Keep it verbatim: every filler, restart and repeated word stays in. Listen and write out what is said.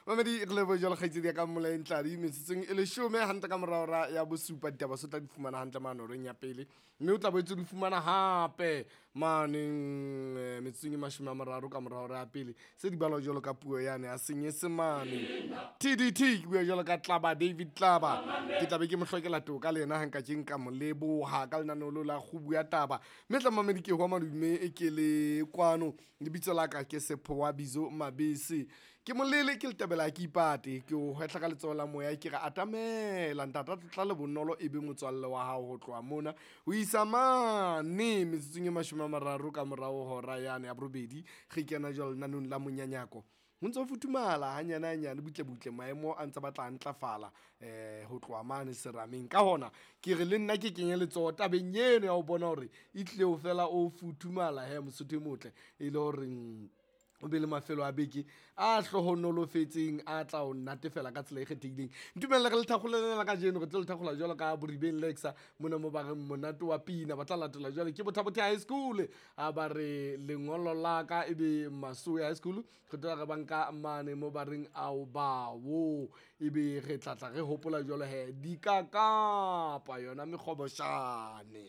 Mamedi re lebohe jwalo kgaitsedi ya ka Mmolaeng Tladi metsotsong e leshome hantle ka mora hora ya bosupa ditaba se tla di fumana hantle mane horeng ya pele mme o tla boetse di fumana hape maneng eh, metsotsong e mashome a mararo ka mora hora ya pele se di balwa jwalo ka puo yane ya senyesemane T D T. Ke bua jwalo ka Tlaba David Tlaba, ke tlabe ke mo hlokela toka le yena ha nka ke nka mo leboha ka lenaneo leo la kgubu ya taba. Mme tla mamedi ke hwa madume e ke le kwano, lebitso la ka ke Sephowa Bizo Mabese, ke molele ke letabela ke ipate ke o hwehla ka letsoho la moya, ke re atamela ntata tlotla le bonolo e be motswalle wa hao ho tloha mona ho isa mane metsotsong e mashome a mararo ka morao hora yane ya borobedi. Re kena jwalo lenaneng la monyanyako, ho ntso futhumala hanyane hanyane, butle butle maemo a ntse batla a ntlafala um ho tloha mane serameng. Ka hona ke re le nna ke kenye letsoho tabeng eno ya ho bona hore e tlile ho fela o futhumala he mosotho e motle e le hore mm, o be le mafelo a beke a hlohonolofetseng a tla o natefela ka tsela e kgethehileng. Ntumelle re le thakgolelena kajeno, re tlo le thakgola jwalo ka Boribeng Lexa mona mo ba reng monate wa pina ba tla latela jwale ke Bothabothe High School a ba re lengolo la ka e be Masowe High School re tla re banka mane mo ba reng ao bawo e be re tlatla re hopola jwalo he dikakapa yona mekgoboshane.